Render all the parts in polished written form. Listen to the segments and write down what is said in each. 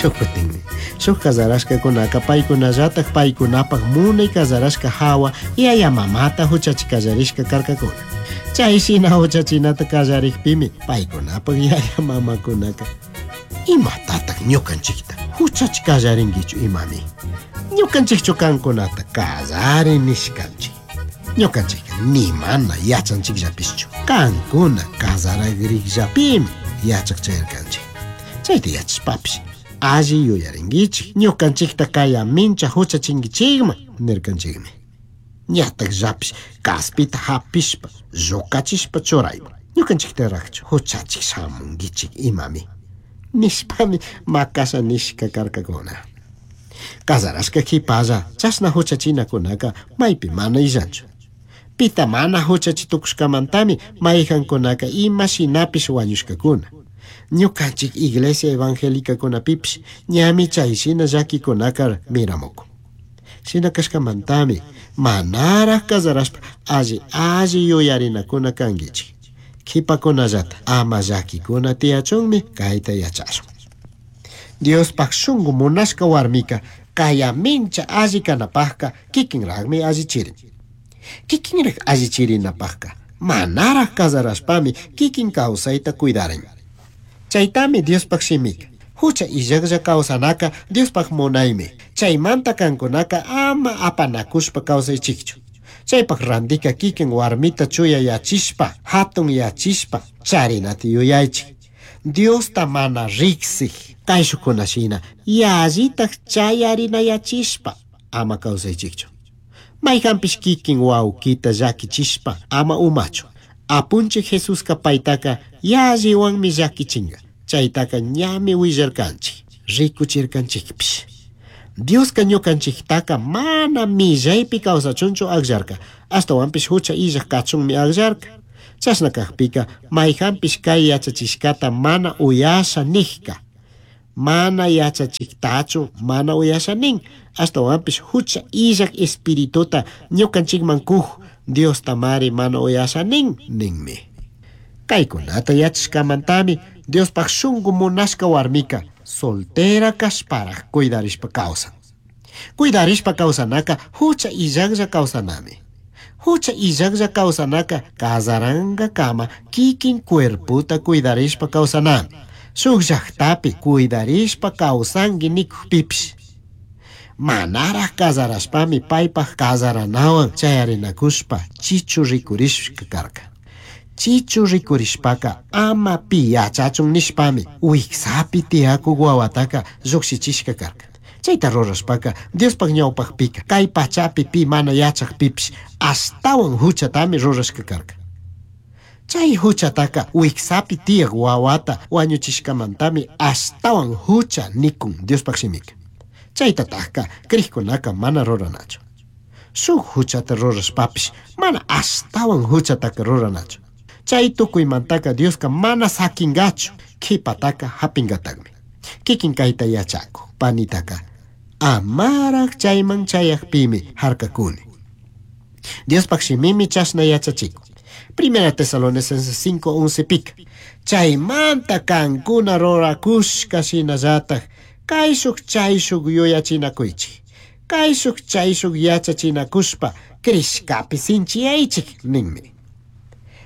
Shuj kutinmi shuj kazarashkakunaka paykunallatak paykunapak munay kazarashka hawa yaya mamata huchachi kallarishka karkakuna. Chay shina huchachinata kallarikpimi paykunapak yaya mamakunaka imatatak ñukanchikta huchachi kallarinkichu imami. Ñukanchikchu kankunata kallari nishkanchik. Ñukanchikka ni mana yachanchikllapishchu. Kankuna kazaragrikllapimi yachak chayarkanchik. Chayta yachashpapish alli yuyarinkichik. Ñukanchikta kayamincha huchachinkichikman nirkanchikmi. Ñatakllapish kaspita hapishpa llukachishpa churayman. Ñukanchiktaraqchu huchachik shamunkichik imami. Nishpami makasha nishka karkakuna. Kazarashka qhipalla chashna huchachinakunaka maypi mana illanchu. Pita mana huchachi tukushkamantami mayqankunaka ima shinapish wañushkakuna. Ñukanchik iglesia evangélicakunapipish ñami chay shina llakikunaka miramukun. Shina kashkamantami manaraq kazarashpa alli alli yuyarinakuna kankichik. Qhipakunallata ama llakikuna tiyachunmi kayta yachashun. Diospaq shunqu munashka warmika kayamincha alli kanapaqqa kikinraqmi allichirin. Kikinraq allichirinapaqqa manaraq kazarashpami kikin kawsayta cuidarin. Chaytami Diospaq shimika. Hucha illaqlla kawsanaka Diospaq munaymi. Chaymanta kankunaka ama apanakushpa kawsaychikchu. Chaypaq randika kikin warmita chuya yachishpa, hatun yachishpa charinata yuyaychik. Diosta mana riksik kayshukuna shina yallitaq chayarinayachishpa ama kawsaychikchu. Mayqanpish kikin wawkita llakichishpa ama umachu. Apunchik Jesuska paytaka yalliwanmi llakichinga. Chaytaka ñami willarkanchik, rikuchirkanchikpish. Dioska ñukanchiktaka mana millaypi kawsachunchu akllarka, ashtawanpish hucha illaq kachunmi akllarka. Chashna kakpika mayqanpish kay yachachishkata mana uyasha nijka. Mana yachachiktachu mana uyasha nin, ashtawanpish hucha illaq espirituta ñukanchikman kuj Diosta mari mana uyasha nin ninmi. Kaykunata yachashkamantami Diospaq shunqu munashka warmika soltera kashparaq cuidarishpa kawsan. Cuidarishpa kawsanaka hucha illaqlla kawsanami. Hucha illaqlla kawsanaka kazarankakama kikin cuerpota cuidarishpa kawsanami. Shuk llaqtapi cuidarishpa kawsanki nikukpipish. Manaraq kazarashpami paypaq kazaranawan chayarinakushpa chichu rikurishka karka. Chichu rikurishpaka ama pi yachachun nishpami wiksapi tiyakuk wawataka llukshichishka karka. Chayta rurashpaka Diospaq ñawpaqpika kay pachapi pi mana yachaqpipish ashtawan huchatami rurashka karka. Chay huchataka wiksapi tiyaq wawata wañuchishkamantami ashtawan hucha nikun Diospaq shimika. Chaytatakka krikkunaka mana ruranachu. Shuk huchata rurashpapish mana ashtawan huchataka ruranachu. Chay tukuymantaka Dioska mana sakingachu, qhipataka hapingataqmi. Kikin kayta yachaku, panitaka amaraq chayman chayaqpimi harkakuni. Diospaq shimimi chashna yachachikun. Primera Tesalonicenses 5:11 pika. Chaymanta kankuna rurakushka shinallatak kayshuk chayshuk yuyachinakuychik. Kayshuk chayshuk yachachinakushpa krishkapi sinchiyaychik ninmi.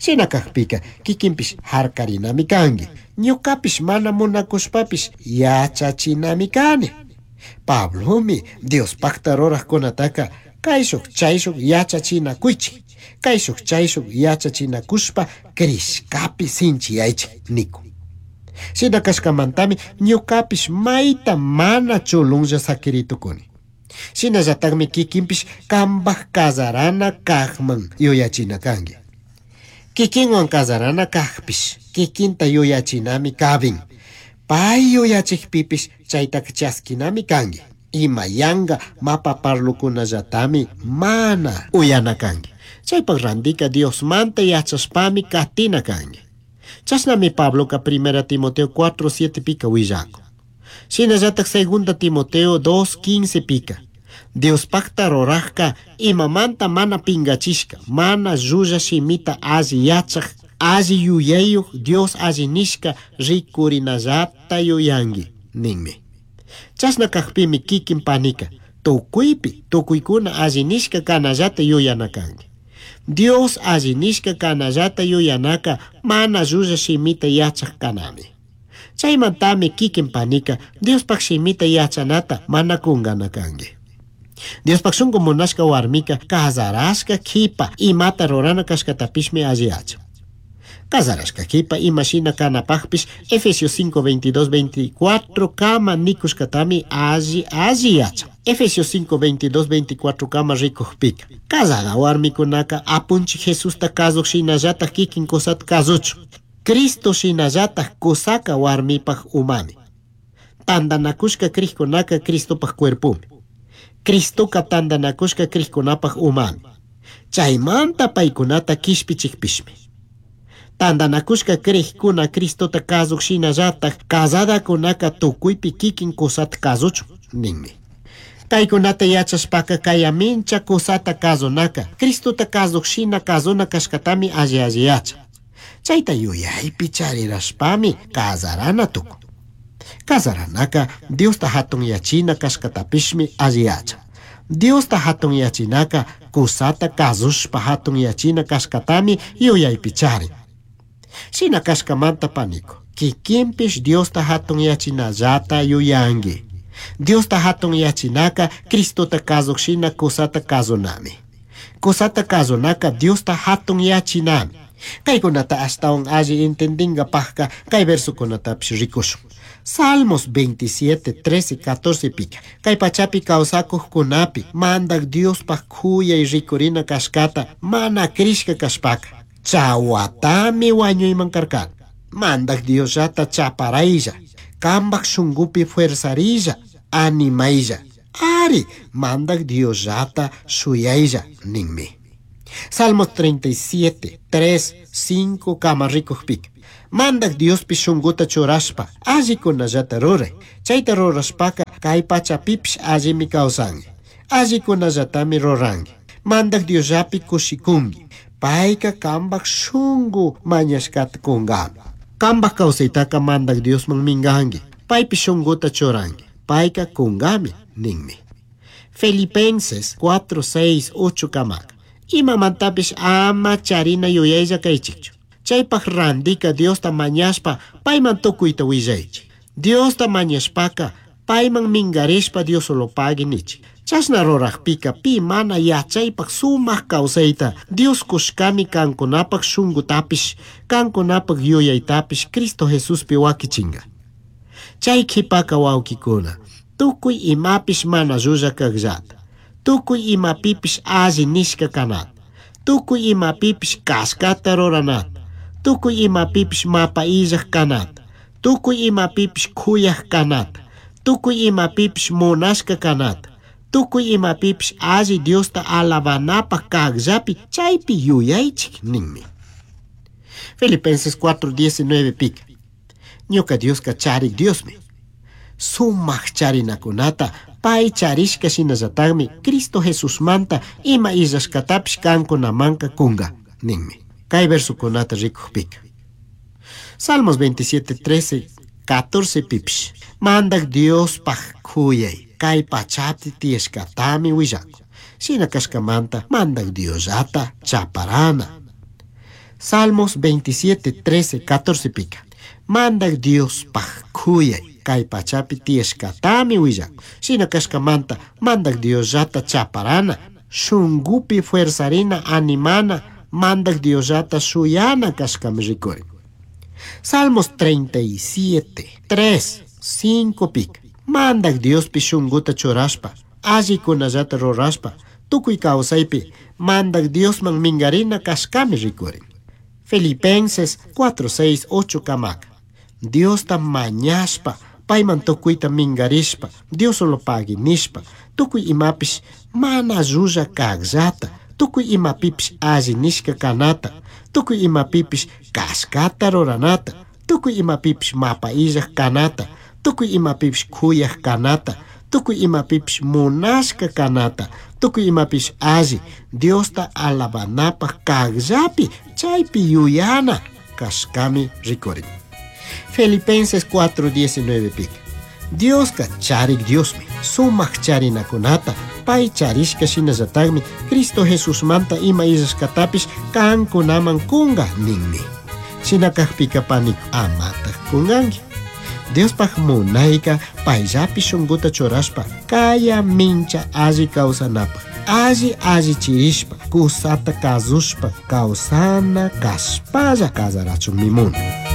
Shina kakpika kikinpish harkarinami kanki. Ñukapish mana munakushpapish yachachinami kani. Pablomi Diospaqta ruraqkunataka kayshuk chayshuk yachachinakuychik. Kayshuk chayshuk yachachinakushpa krishkapi sinchiyaychik nikun. Shina kashkamantami ñukapish mayta mana chulunlla sakiritukuni. Shinallatakmi kikinpish kanpaq kazarana kaqman yuyachina kanki. Kikinwan kazarana kaqpish kikinta yuyachinami kabin. Pay yuyachikpipish chaytaka chaskinami kanki. Ima yanka mapa parlukunallatami mana uyana kanki. Chaypaq randika Diosmanta yachashpami katina kanki. Chashnami Pabloka Primera Timoteo 4:7 pika willakun. Shinallatak Segunda Timoteo 2:15 pika. Diospaqta ruraqka imamanta mana pingachishka, mana llulla shimita alli yachaq, alli yuyayuq Dios alli nishka rikurinallata yuyanki ninmi. Chashna cajpimi kikin panica tucuipi tucuicuna alli nishca canallata yuyana canqui. Dios alli nishca canallata yuyanaka mana llulla shimita yachaj kanami. Chaymantami kikin panica Diospaj shimita yachanata mana kungana kanki. Diospaj shunku munashka warmika kazarashka kipa imata rurana kashkatapishmi alli yachan. Kazarashka kipa ima shina kanapajpish Efesios 5, 22, 24 kama nikushkatami alli alli yachan. Efesios 5, 22, 24 kama rikujpika. Kazada warmikunaka apunchik Jesusta kazuj shinallataj kikin kusata kazuchun. Cristo shinallataj kusaka warmipaj umami. Tandanakushka crijkunaka Cristopaj cuerpumi. Cristoka tandanakushka crijkunapaj umami. Chaymanta paykunata kishpichikpishmi. Tandanakushka crijkuna Cristota kazuj shinallataj kazadakunaka tukuypi kikin kusata kazuchun ninmi. Kaykunata yachashpaka kayamincha kusata kazunaka Cristota kazuj shina kazuna kashkatami alli alli yachan. Chayta yuyaypi charirashpami kazarana tukun. Kazaranaka Diosta hatunyachina kashkatapishmi alli yachan. Diosta hatunyachinaka kusata kazushpa hatunyachina kashkatami yuyaypi charin. Shina kashkamanta paniko, kikinpish Diosta hatunyachinallata yuyanki. Diosta hatunyachinaka Cristota kazuj shina kusata kazunami. Kusata kazunaka Diosta hatunyachinami. Kaykunata ashtawan alli entendingapajka kay versokunatapish rikushun. Salmos 27, 13, 14 pika. Kay pachapi kawsakujkunapi mandak Diospaj kuyay rikurina kashkata mana krishka kashpaka. Chawatami wañuyman karkani. Mandak Diosllata chaparaylla. Kambaj shunkupi fuerzarilla, animaylla. Ari, mandak Diosllata shuyaylla ninmi. Salmos 37, 3, 5 kama rikujpika. Mandak Diospi shunkuta churashpa allikunallata ruray. Chayta rurashpaka kay pachapipish allimi kawsanki. Allikunallatami ruranki. Mandak Diosllapi kushikunki. Payka kambaj shunku mañashkata kunkami. Kambaj kawsaytaka mandak Diosman minkanki. Paypi shunkuta churanki. Payka kunkami ninmi. Filipenses 4, 6, 8 kamaka. Imamantapish ama charina yuyaylla kaychikchu. Chaypaj randika Diosta mañashpa payman tukuyta willaychik. Diosta mañashpaka payman minkarishpa Diosolopagui nichik. Chashna rurajpika pi mana yachaypaj sumak kawsayta Dios kushkami kankunapaj shunkutapish kankunapaj yuyaytapish Cristo Jesuspi wakichinga. Chay qhipaka wawkikuna tukuy imapish mana llulla kajllata. Tukuy imapipish alli nishka kanata. Tukuy imapipish kashkata ruranata. Tukuy imapipish mapa illaj kanata. Tukuy imapipish kuyaj kanata. Tukuy imapipish munashka kanata. Tukuy imapipish alli Diosta alabanapaj kajllapi chaypi yuyaychik ninmi. Filipenses 4:19 pika. Ñuka Dioska charik Diosmi. Sumak charinakunata pay charishka shinallatakmi Cristo Jesusmanta ima illashkatapish kankunamanka kunga ninmi. Kay versokunata rikujpika. Salmos 27, 13, 14 pipish. Mandak Diospaj kuyay kay pachapi tiyashkatami willakun. Shina kashkamanta mandak Diosllata chaparana. Salmos 27, 13, 14 pika. Mandak Diospaj kuyay kay pachapi tiyashkatami willakun. Shina kashkamanta mandak Diosllata chaparana, shunkupi fuerzarina animana, mandak Diosllata shuyana kashkami rikurin. Salmos 37, 3, 5 pika. Mandak Diospi shunkuta churashpa, allikunallata rurashpa, tukuy kawsaypi mandak Diosman minkarina kashkami rikurin. Filipenses 4, 6, 8 kamaka. Diosta mañashpa, payman tukuyta minkarishpa, Diosolopagui nishpa, tukuy imapish mana llulla kajllata, tukuy imapipish alli nishka kanata, tukuy imapipish kashkata ruranata, tukuy imapipish mapa illaj kanata, tukuy imapipish kuyaj kanata, tukuy imapipish munashka kanata, tukuy imapish alli Diosta alabanapaj kajllapi chaypi yuyana kashkami rikurin. Filipenses 4:19 pika. Diosca charik Diosmi, sumak charinakunata pay charishka shinallatakmi Cristo Jesusmanta ima illashkatapish kankunaman kunga ninmi. Shina kakpika pani amatak kunganki. Diospaj munayka payllapi shunkuta churashpa kaya mincha alli kawsanapaj, alli allichirishpa kusata kazushpa kawsana kashpalla kasarachunmi munan.